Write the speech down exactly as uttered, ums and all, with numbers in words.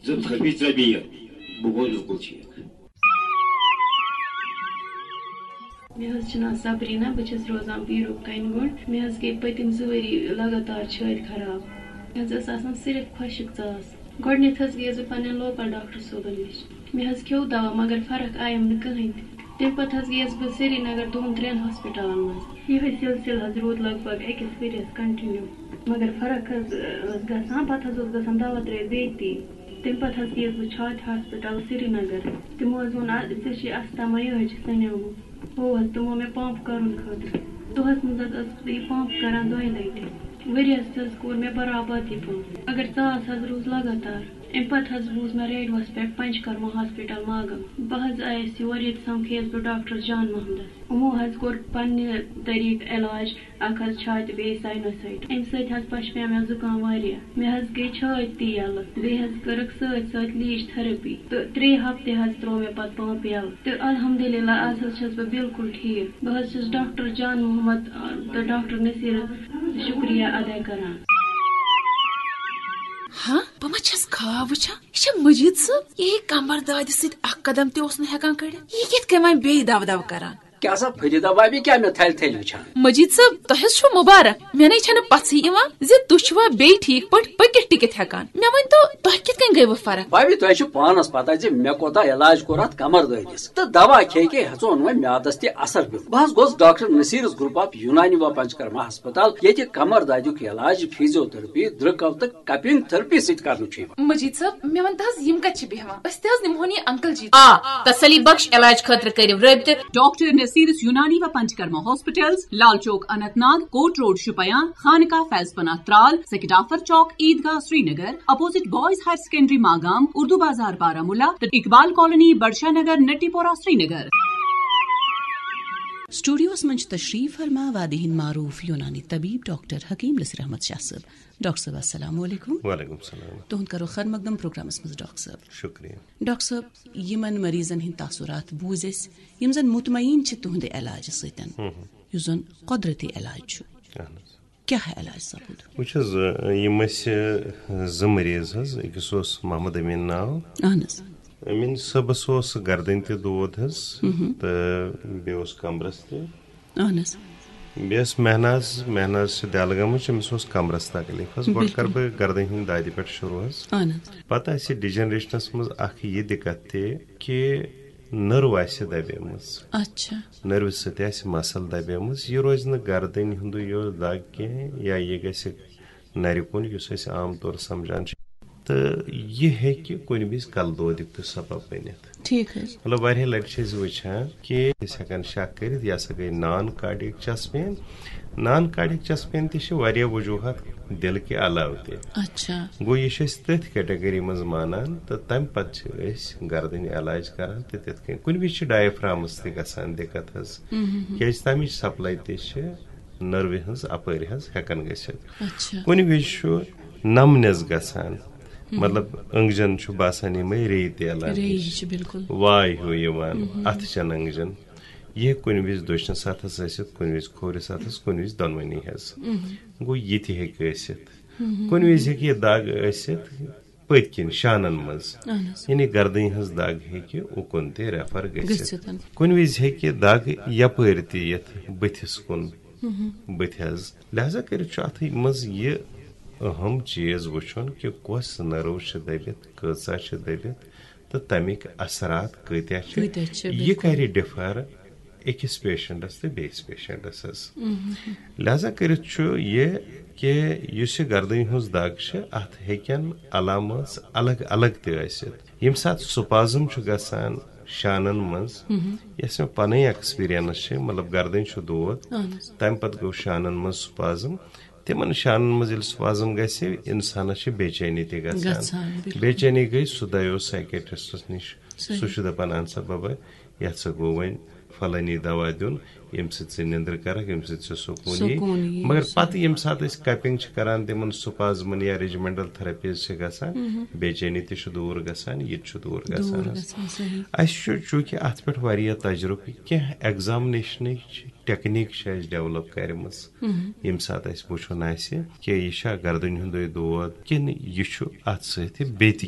زٕ تھٲوِتھ ژےٚ بیٚیہِ، بہٕ گوس بِلکُل ٹھیٖک۔ مےٚ حظ چھُ ناو صبریٖنا، بہٕ چھَس روزان پیٖرُک کَنہِ گُنٛڈ۔ مےٚ حظ گٔے پٔتِم زٕ ؤری لگاتار چھٲتۍ خراب۔ مےٚ حظ ٲس آسان صرف خۄشِک ژاس۔ گۄڈٕنٮ۪تھ حظ گٔیَس بہٕ پنٛنٮ۪ن لوکل ڈاکٹر صٲبَن نِش۔ مےٚ حظ کھیوٚو دوا، مگر فرق آیَم نہٕ کٕہٕنۍ تہِ۔ تَمہِ پَتہٕ حظ گٔیَس بہٕ سرینگر دۄن ترٛٮ۪ن ہاسپِٹلَن منٛز۔ یِہوٚے سلسلہٕ حظ روٗد لگ بگ أکِس ؤریَس continue۔ مگر فرق حظ ٲس گژھان، پَتہٕ حظ اوس گژھان دوا ترٛٲوِتھ بیٚیہِ تی۔ تَمہِ پَتہٕ حظ گٔیَس بہٕ چھاتہِ ہاسپِٹل سرینگر۔ تِمو حظ ووٚن، "آ، ژےٚ چھے اَستھما، یِہوٚے چھِ سَنیومُت۔" ہُہ حظ، تِمو مےٚ پمپ کَرُن خٲطرٕ۔ دۄہَس منٛز حظ ٲسٕس بہٕ یہِ پمپ کَران دۄیہِ لَٹہِ۔ ؤریَس حظ کوٚر مےٚ برابر یہِ پمپ، مگر ژاس حظ روٗز لگاتار۔ اَمہِ پَتہٕ حظ بوٗز مےٚ ریڈیوَس پٮ۪ٹھ پنچکرما ہاسپِٹل ماگام۔ بہٕ حظ آیَس یور، ییٚتہِ سَمکھیَس بہٕ ڈاکٹر جان محمدَس۔ یِمو حظ کوٚر پننہِ طریٖقہٕ علاج، اکھ حظ چھاتہِ، بیٚیہِ ساینوسائٹ۔ اَمہِ سۭتۍ حظ پشپیو مےٚ زُکام واریاہ۔ مےٚ حظ گٔے چھٲتۍ تہِ یَلہٕ، بیٚیہِ حظ کٔرٕکھ سۭتۍ سۭتۍ لیٖچ تھراپی، تہٕ ترٛےٚ ہفتہٕ حظ ترٛوو مےٚ پتہٕ پمپ یَلہٕ۔ تہٕ الحمدللہ، آز حظ چھَس بہٕ بالکل ٹھیٖک۔ بہٕ حظ چھَس ڈاکٹر جان محمد، آ، تہٕ ڈاکٹر نصیرَس شُکریہ ادا کران۔ ہاں، بہٕ ما چھَس خواب وٕچھان؟ یہِ چھا مجید صٲب؟ یہِ ہے کمر دادِ سۭتۍ اکھ قدم تہِ اوس نہٕ ہٮ۪کان کٔڑِتھ۔ یہِ کِتھ کٔنۍ وۄنۍ بیٚیہِ دَو دَو کران؟ کیٛاہ سا فریدہ بھابھی، کیٛاہ مےٚ تھلہِ تھلہِ وٕچھان؟ مجید صٲب، تۄہہِ حظ چھو مبارک۔ مےٚ نے چھنہٕ پژھٕے یِوان زِ تُہۍ چھِوا بیٚیہِ ٹھیٖک پٲٹھۍ پٔکِتھ ٹِکِتھ ہٮ۪کان۔ مےٚ ؤنۍ تو، تۄہہِ کِتھ کٔنۍ گٔیوٕ فرق؟ بھابھی، تۄہہِ چھو پانس پتہ زِ مےٚ کوتاہ علاج کوٚر اتھ کمر دٲدِس، تہٕ دوا کھے کھے ہیژون وۄنۍ میادس تہِ اثر پیوٚو۔ بہٕ حظ گوس ڈاکٹر نصیرس گروپ آف یونانی و پنچکرما ہسپتال، ییٚتہِ کمر دادیُک علاج فیزیو تھراپی، درٛکو تہٕ کپنگ تھراپی سۭتۍ کرنہٕ چھُ یِوان۔ مجید صٲب، مےٚ ون تہٕ حظ، یِم کتہِ چھِ بیہوان؟ أسۍ تہِ حظ نِمہون یہِ انکل جی۔ آ، تسلی بخش علاج خٲطرٕ کٔرِو رٲبطہٕ۔ ڈاکٹر نصیرس یونانی و Panchakarma hospitals, Lal Chowk Anantnag, court road Shopian, Khanqah Faiz Panah Tral, Sekidafar Chowk, Eidgah Srinagar, opposite boys higher secondary Magam, Urdu Bazar Baramulla تہٕ اقبال کالونی، بڑشاہ نگر، نٹی پورہ، سرینگر۔ اسٹوڈیوس منٛز چھِ تشریف فرما وادی ہٕنٛدۍ معروف یونانی طبیب ڈاکٹر حکیم نصیر احمد شاہ صٲب۔ ڈاکٹر صٲب، السلام علیکم۔ وعلیکم السلام۔ تُہُنٛد کرو خیر مقدم پروگرامس منٛز، ڈاکٹر صٲب۔ شکریہ۔ ڈاکٹر صٲب، یِمن مریضن ہٕنٛدۍ تاثرات بوٗزۍ أسۍ، یِم زن مطمئن چھِ تُہنٛدِ علاجہٕ سۭتۍ، ہم۔ یُس زن قۄدرتی علاج چھُ۔ اہن حظ۔ کیٛاہ علاج سپُد؟ وٕچھ حظ، یِم ٲسۍ زٕ مریض حظ، أکِس اوس محمد امین ناو۔ اہن حظ۔ امین صٲبس اوس گردن تہِ دود حظ، مہم۔ تہٕ بیٚیہِ اوس کمرس تہِ۔ اہن حظ۔ بیٚیہِ ٲس مہناز، مہناز چھِ دٮ۪لہٕ گٔمٕژ، أمِس اوس کمرس تکلیف حظ۔ گۄڈٕ بِلکُل۔ کرٕ بہٕ گردن ہٕنٛدِ دادِ پٮ۪ٹھ شروع حظ۔ اہن حظ۔ پتہٕ آسہِ ڈیجنریشنس منٛز اکھ یہِ دِقت تہِ کہِ نٔرو آسہِ دبیمٕژ۔ اچھا۔ نٔروِ سۭتۍ آسہِ مسل دبیمٕژ، یہِ روزِ نہٕ گردنہِ ہُنٛدُے یوت دگ کینٛہہ، یا یہِ گژھِ نرِ کُن، یُس أسۍ عام طور سمجھان چھِ۔ تہٕ یہِ ہیٚکہِ کُنہِ وِزِ کلہٕ دودیُک تہِ سبب بٔنِتھ۔ ٹھیٖک حظ۔ مطلب، واریاہ لٹہِ چھِ أسۍ وٕچھان کہِ أسۍ ہٮ۪کان شک کٔرِتھ، یہِ ہسا گٔے نان کارڈیک چسٹ پین۔ نان کارڈیک چسٹ پین تہِ چھِ واریاہ وجوہات دِلہٕ کہِ علاوٕ تہِ۔ اچھا۔ گوٚو، یہِ چھِ أسۍ تٔتھۍ کیٹگری منٛز مانان، تہٕ تمہِ پتہٕ چھِ أسۍ گردنہِ علاج کران تہٕ تِتھ کٔنۍ۔ کُنہِ وِزِ چھِ ڈایفرامس تہِ گژھان دِقت حظ، مہم۔ کیازِ تمِچ سپلاے تہِ چھِ نٔروِ ہٕنٛز اپٲرۍ حظ ہٮ۪کان گٔژھِتھ۔ اچھا۔ کُنہِ وِزِ چھُ نمنس گژھان، مطلب، أنٛگجن چھُ باسان یِمے ریٚیہِ تیلان ریٚیہِ ہِش۔ ہِش، بِلکُل۔ واے ہیوٗ یِوان، اَتھٕ چٮ۪ن أنٛگجن۔ یہِ ہیٚکہِ کُنہِ وِزِ دٔچھنِس اَتھس ٲسِتھ، کُنہِ وِزِ کھوورِس اَتھس، کُنہِ وِزِ دۄنوٕنی حظ۔ گوٚو، یہِ تہِ ہیٚکہِ ٲسِتھ۔ کُنہِ وِزِ ہیٚکہِ یہِ دگ ٲسِتھ پٔتۍ کِنۍ شانن منٛز۔ اہن حظ۔ یعنی گردنہِ ہٕنٛز دگ ہیٚکہِ اُکُن تہِ ریفر گٔژھِتھ۔ گٔژھِتھ۔ کُنہِ وِزِ ہیٚکہِ دگ یپٲرۍ تہِ یِتھ بٕتھِس کُن۔ بٕتھِ حظ۔ لہذا کٔرِتھ چھُ اَتھ منٛز یہِ اہم چیٖز وٕچھُن کہِ کۄس نٔرو چھِ دٔبِتھ، کۭژاہ چھِ دٔبِتھ تہٕ تَمِکۍ اثرات کۭتیٛاہ چھِ۔ کۭتیٛاہ چھِ، یہِ بِلکُل۔ کَرِ ڈِفر أکِس پیشنٹس تہٕ بیٚیِس پیشنٹس حظ۔ لہذا کٔرِتھ چھُ یہِ کہِ یُس یہِ گردنہِ ہٕنٛز دگ چھِ، اَتھ ہیٚکن علامات الگ الگ تہِ ٲسِتھ۔ ییٚمہِ ساتہٕ سپازم چھُ گژھان شانن منٛز، یۄس مےٚ پنٕنۍ ایکسپیرینس چھِ، مطلب، گردنۍ چھُ دود، اہن حظ۔ تمہِ پتہٕ گوٚو شانن منٛز سپازم۔ تِمن شانن منٛز ییٚلہِ سپازم گژھِ، انسانس چھِ بے چینی تہِ گژھان۔ گژھان، بِلکُل۔ بے چینی گٔے، سُہ دَیو سائیکیٹرسٹس نِش۔ صحیح۔ سُہ چھُ دپان، "اہن سا ببا، یتھ سا گوٚو وۄنۍ فلٲنی دوا دیُن، ییٚمہِ سۭتۍ ژٕ نِندٕر کرکھ، ییٚمہِ سۭتۍ ژےٚ سکوٗن یی۔" سکوٗن یی، مگر صحیح۔ پتہٕ ییٚمہِ ساتہٕ أسۍ کپنگ چھِ کران، تِمن سپازمن یا ریجمنٹل تھراپیز چھِ گژھان، بے چینی تہِ چھُ دوٗر گژھان، یہِ تہِ چھُ دوٗر گژھان دوٗر حظ۔ گژھان، صحیح۔ اَسہِ چھُ چوٗنٛکہِ اَتھ پٮ۪ٹھ واریاہ تجرُبہٕ، کینٛہہ ایگزامنیشنٕچ ٹیکنیک چھِ اَسہِ ڈیولپ کَرِمٕژ، ییٚمہِ ساتہٕ اَسہِ وٕچھُن آسہِ کہِ یہِ چھا گردنہِ ہُنٛدُے دود کِنہٕ یہِ چھُ اَتھ سۭتۍ بیٚیہِ تہِ